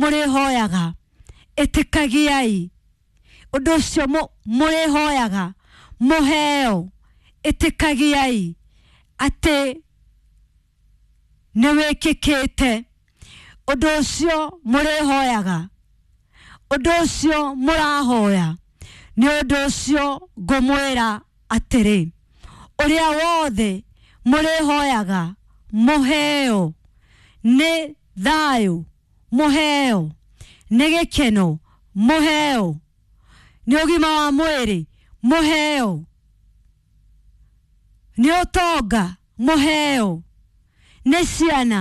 Mũrĩhoyaga, ĩtĩkagiai ũndũ ũcio mũrĩhoyaga mũheo, ĩtĩkagiai atĩ nĩ wĩkĩkĩte. Ũndũ ũcio mũrĩhoyaga, ũndũ ũcio mũrahoya, nĩ ũndũ ũcio ngũmwĩra atĩrĩ, ũrĩa wothe mũrĩhoyaga mũheo, nĩ thayũ mũheo, nĩ gĩkeno mũheo, nĩ ũgima wa mwĩrĩ mũheo, nĩ ũtonga mũheo, nĩ ciana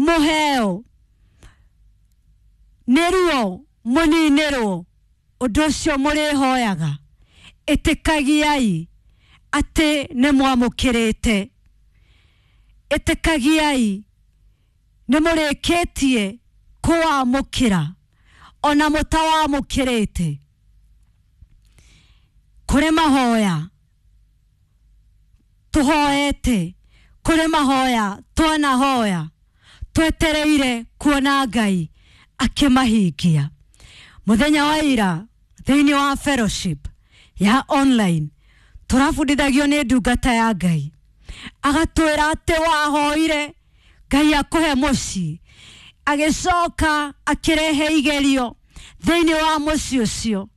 mũheo, nĩ ruo mũninĩrwo. Ũndũ ũcio mũrĩhoyaga, ĩtĩkagiai atĩ nĩ mwamũkĩrĩte, ĩtĩkagiai nĩ mũrĩkĩtie kũwamũkĩra ona mũtawamũkĩrĩte. Kũrĩ mahoya tũhoete, kũrĩ mahoya twanahoya twetereire kuona Ngai akĩmahingia. Mũthenya wa ira thĩinĩ wa fellowship ya online tũrabundithagio nĩ ndungata ya Ngai, agatwĩra atĩ wahoire Ngai akũhe mũciĩ, agĩcoka akĩrehe igerio thĩinĩ wa mũciĩ ũcio.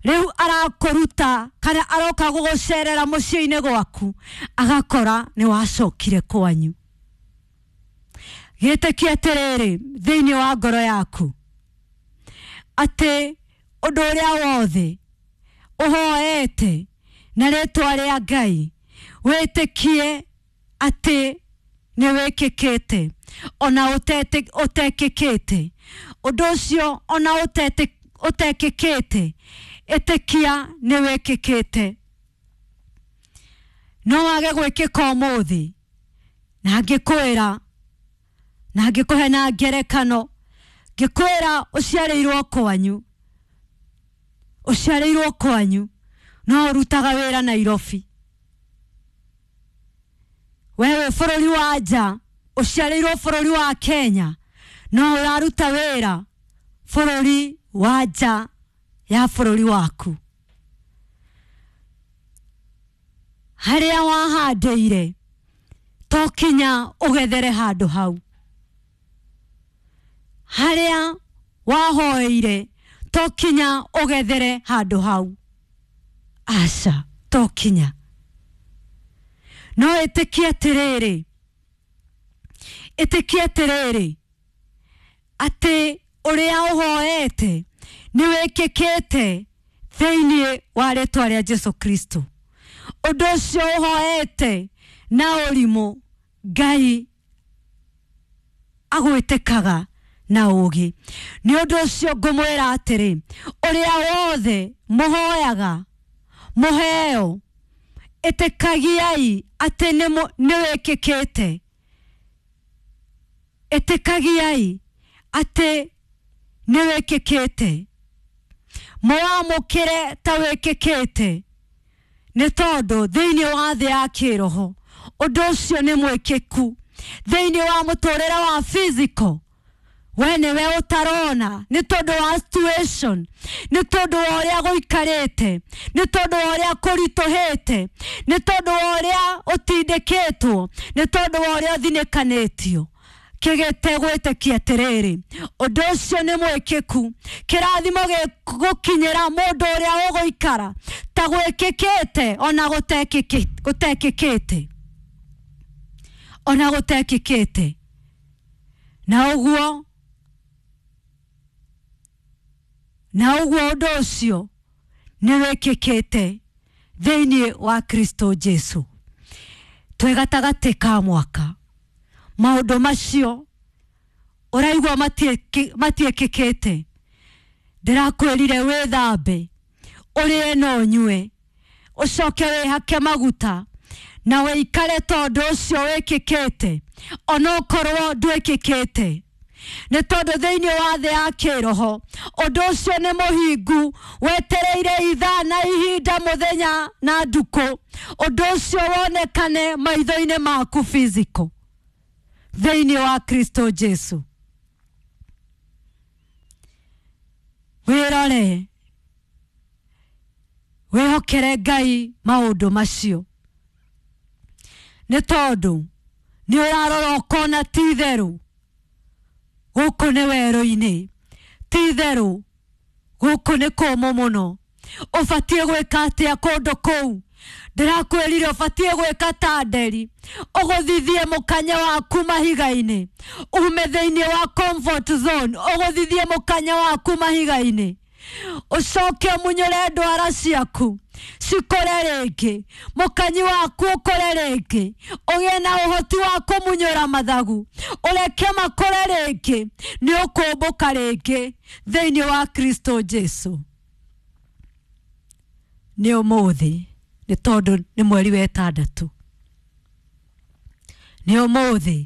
Rĩu arakũruta kana aroka gũgũcerera mũciĩ-inĩ gwaku, agakora nĩ wacokire kwanyu. Gĩtĩkie atĩrĩrĩ thĩinĩ wa ngoro yaku atĩ ũndũ ũrĩa wothe ũhoete na rĩtwa rĩa Ngai, wĩtĩkie atĩ nĩ wĩkĩkĩte ona ũtekĩkĩte. Ũndũ ũcio ona ũtekĩkĩte, ĩtĩkia nĩ wĩkĩkĩte. No wage gwĩkĩka ũmũthĩ, na ngĩkwĩra na ngĩkũhe na ngerekano, ngĩkwĩra ũciarĩirwo kwanyu, ũciarĩirwo kwanyu no ũrutaga wĩra Nairobi. We wĩ bũrũri wa nja, ũciarĩirwo bũrũri wa Kenya no ũraruta wĩra bũrũri wa nja ya bũrũri waku. Harĩa wahandĩire to kinya ũgethere handũ hau, harĩa wahoeire to kinya ũgethere handũ hau, aca, to kinya. No ĩtĩkie atĩrĩrĩ, ĩtĩkie atĩrĩrĩ atĩ ũrĩa ũhoete nĩ wĩkĩkĩte thĩinĩ wa rĩtwa rĩa Jesu Kristo. Ũndũ ũcio ũhoete na ũrimũ, Ngai agwĩtĩkaga na ũũgĩ. Nĩ ũndũ ũcio ngũmwĩra atĩrĩ, ũrĩa wothe mũhoyaga mũheo, ĩtĩkagiai atĩ nĩ wĩkĩkĩte, ĩtĩkagiai atĩ nĩ wĩkĩkĩte, mũwamũkĩre ta wĩkĩkĩte, nĩ tondũ thĩinĩ wa thĩ ya kĩroho ũndũ ũcio nĩ mwĩkĩku. Thĩinĩ wa mũtũrĩre wa physical we nĩwe ũtarona nĩ tondũ wa situation, nĩ tondũ wa ũrĩa gũikarĩte, nĩ tondũ wa ũrĩa kũritũhĩte, nĩ tondũ wa ũrĩa ũtindĩkĩtwo, nĩ tondũ wa ũrĩa ũthinĩkanĩtio. Kĩgĩte gwĩtĩkia atĩrĩrĩ, ũndũ ũcio nĩ mwĩkĩku. Kĩrathimo gĩgũkinyĩra mũndũ ũrĩa ũgũikara ta gwĩkĩkĩte ona gũtekĩkĩte, ona gũtekĩkĩte. Na ũguo, na ũguo ũndũ ũcio nĩ wĩkĩkĩte thĩinĩ wa Kristo Jesu. Twĩ gatagatĩ ka mwaka, maũndũ macio ũraigua matiĩkĩkĩte, ndĩrakwĩrire wĩthambe, ũrĩe na ũnyue, ũcoke wĩhake maguta na wĩikare tondũ ũcio wĩkĩkĩte onokorwo ndwĩkĩkĩte. Nĩ tondũ thĩinĩ wa thĩ ya kĩroho ũndũ ũcio nĩ mũhingu, wetereire ithaa na ihinda, mũthenya na ndukũ, ũndũ ũcio wonekane maitho-inĩ maku physical thĩinĩ wa Kristo Jesu. Ũrore wĩhokere Ngai maũndũ macio, nĩ tondũ nĩ ũrarora ũkona ti itherũ gũkũ nĩ werũ-inĩ, ti itherũ gũkũ nĩ kũmũ mũno. Ũbatiĩ gwĩka atĩa kũndũ kũu? Ndĩrakwĩrire ũbatiĩ gwĩka ta nderi, ũgũthithie mũkanya waku mahiga-inĩ, ume thĩinĩ wa comfort zone, ũgũthithie mũkanya waku mahiga-inĩ, ũcoke ũmunyũre ndwara ciaku cikũre rĩngĩ, mũkanyi waku ũkũre rĩngĩ, ũgĩe na ũhoti wa kũmunyũra mathagu, ũreke makũre rĩngĩ, nĩ ũkũmbũka rĩngĩ thĩinĩ wa Kristo Jesu. Nĩ ũmũthĩ, nĩ tondũ nĩ mweri wa ĩtandatũ. Nĩ ũmũthĩ,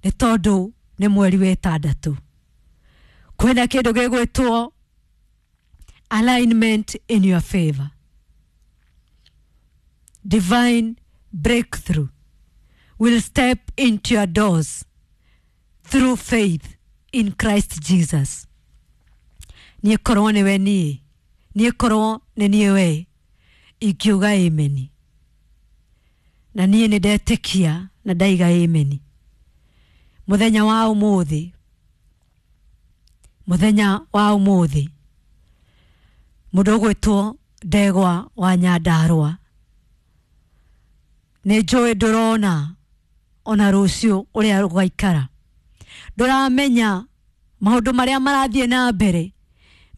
nĩ tondũ nĩ mweri wa ĩtandatũ. Kwĩna kĩndũ gĩgwĩtwo alignment in your favor. Divine breakthrough will step into your doors through faith in Christ Jesus. Niĩ korwo nĩwe niĩ, niĩ korwo nĩ niĩ we, ingiuga ameni. Na niĩ nĩ ndetĩkia na ndaiga ameni. Mũthenya wa ũmũthĩ, mũthenya wa ũmũthĩ, mũndũ ũgwĩtwo Ndegwa wa Nyandarũa, nĩ njũĩ ndũrona ona rũciũ ũrĩa rũgaikara, ndũramenya maũndũ marĩa marathiĩ na mbere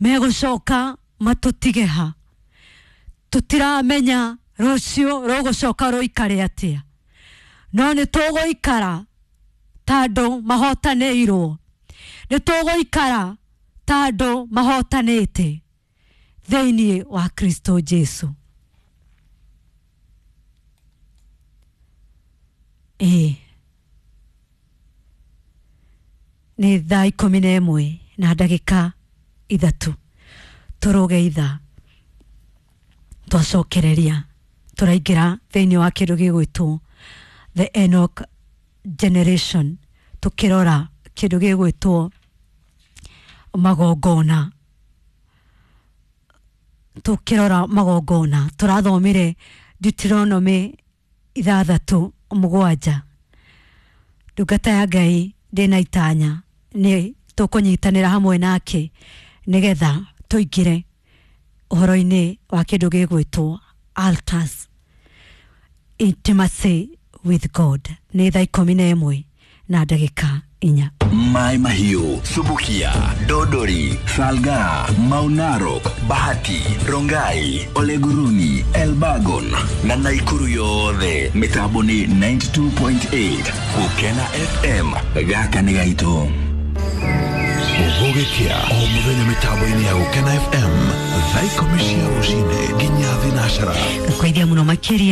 megũcoka matũtige ha, tũtiramenya rũciũ rũgũcoka rũikare atĩa, no nĩ tũgũikara ta andũ mahotanĩirwo, nĩ tũgũikara ta andũ mahotanĩte thĩinĩ wa Kristo Jesu. Ĩĩ, nĩ thaa 11 na ndagĩka 3, tũrũge ithaa twacokereria, tũraingĩra thĩinĩ wa kĩndũ gĩgwĩtwo the Enoch generation, tũkĩrora kĩndũ gĩgwĩtwo magongona, tũkĩrora magongona. Tũrathomire Deuteronomy 6:7. Ndungata ya Ngai ndĩna itanya nĩ tũkũnyitanĩra hamwe nake nĩgetha tũingĩre ũhoro-inĩ wa kĩndũ gĩgwĩtwo altars, intimacy with God. Nĩ thaa 11 na ndagĩka 4. Mai Mahiu, Subukia, Dodori, Salga, Maunarok, Bahati, Rongai, Oleguruni, Elbagon na Naikuru yothe. Mitambo ni 92.8 Gukena FM. Gaka nĩ gaitũ. Gũgĩkĩa o mũthenya mĩtambo-inĩ ya Gũkena FM thaa 10 cia rũcinĩ nginya 4. Ngũkũithia mũno makĩria.